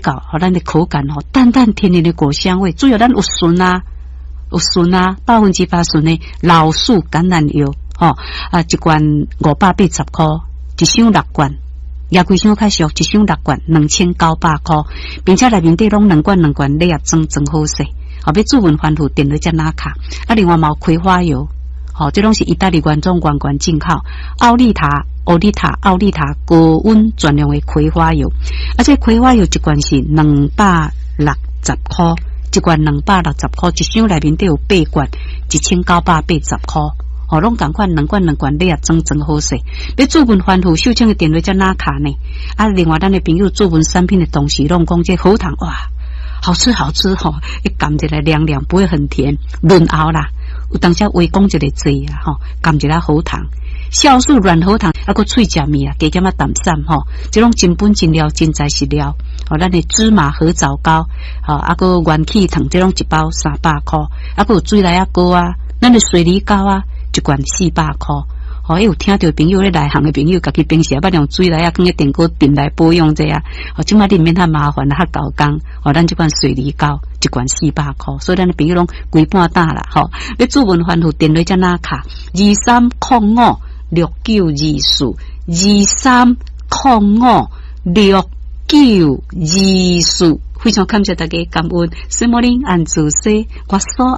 較，予咱的口感吼，淡淡甜甜的果香味。主要咱有純啊，有純啊，100%純的老樹橄欖油，吼啊，一罐580箍，一箱六罐，也規箱較俗，一箱六罐2900箍，並且內面底攏兩罐兩罐禮盒裝裝好勢，後欲主文吩咐電話才拿卡。啊，另外嘛有葵花油，吼，這攏是意大利原裝原罐進口，奧利塔、奧利塔、奧利塔高溫專用的葵花油，啊，這葵花油一罐是260箍，一罐260箍，一箱內面底有八罐，1980箍。吼，攏仝款兩罐兩罐禮盒裝裝好勢。欲主文吩咐秀清的電話才拿卡呢。啊，另外咱的朋友注文產品的同時，攏講這喉糖哇，好吃好吃吼，一含一來涼涼，不會很甜，潤喉啦。有當時話講一个濟啊，吼，含一下喉糖，酵素軟喉糖，啊，閣喙食物啊，加減仔淡散吼，這攏真本真料，真材實料。吼，咱的芝麻褐藻膏，吼，啊，閣元氣糖，這攏一包300箍，啊，閣有水梨仔膏啊，咱的水梨膏啊，一罐400箍。吼，有聽著朋友咧內行的朋友，家己平時也捌用水梨仔囥咧電鍋燉來保養者啊。吼，這擺你毋免遐麻煩，較夠工。吼，咱這款水梨膏一罐四百箍，所以咱的朋友攏規半打啦。吼，欲主文吩咐電話才拿卡，23056924，23056924。非常感謝大家感恩，什麼恁按自說，我所愛。